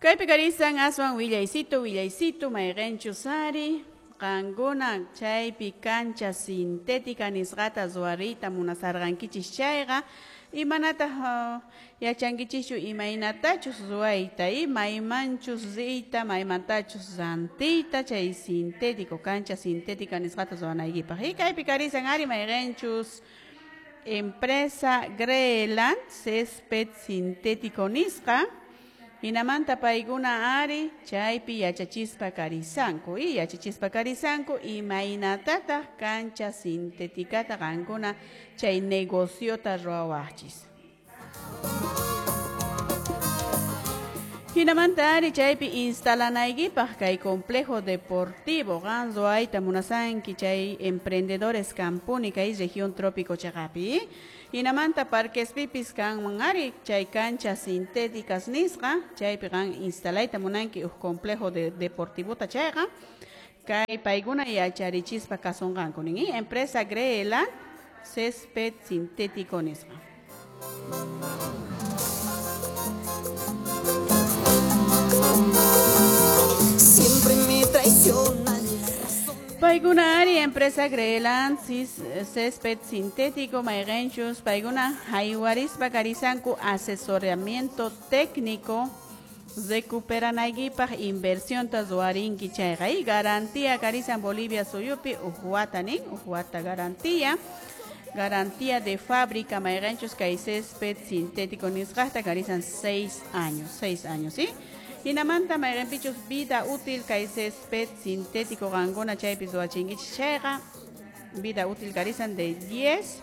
Kaypi karisan aswan willaysitu willaysitu mayqinchus ari qankuna chaypi cancha sintética nisqata ruwariyta munasarqankichis chayqa imanataq yachankichischu imaynatachus ruwayta maymanchus riyta maymantachus rantiyta chay sintético cancha sintética nisqata ruwanaykipaq y kaypi karisan ari mayqinchus empresa Greland césped sintético nisqa hinamanta paykuna ari chaypi yachachispa karisanku y yachachispa karisanku imaynatataq cancha sintéticata qankuna chay negociota ruwawaqchis. Hinamanta ari chaypi instalanaykipaq kay complejo deportivo qan ruwayta munasanki chay emprendedores kampuni kay región trópico chaqapi. Hinamanta parquespipis kanman ari chay canchas sintéticas nisqa chaypi qan instalayta munanki uj complejo de deportivota chayqa kay paykuna yacharichispa kasunqanku nin empresa Greland césped sintético nisqa. Siempre me traiciona la razón. Paykuna ari empresa Greland césped sintético mayqinchus paykuna haywarispa karisanku asesoramiento técnico recuperanaykipaq inversionta ruwarinki chayqa y garantía karisan Bolivia suyupi uj wata nin uj wata garantía garantía de fábrica mayqinchus kay césped sintético nisqaqta karisan 6 años 6 años ¿sí? Hinamanta mayqinpichus vida útil kay césped sintético qankuna chaypi ruwachinkichis chayqa vida útil karisan de 10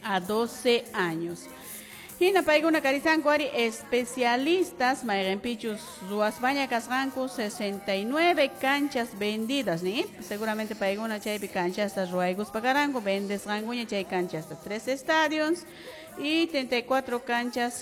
a 12 años. Hina paykuna karisanku ari especialistas mayqinpichus ruwaspaña kasqanku 69 canchas vendidas ni seguramente paykuna chaypi canchasta ruwaykuspa karanku vendesqankuña chay canchasta 3 estadios y 34 canchas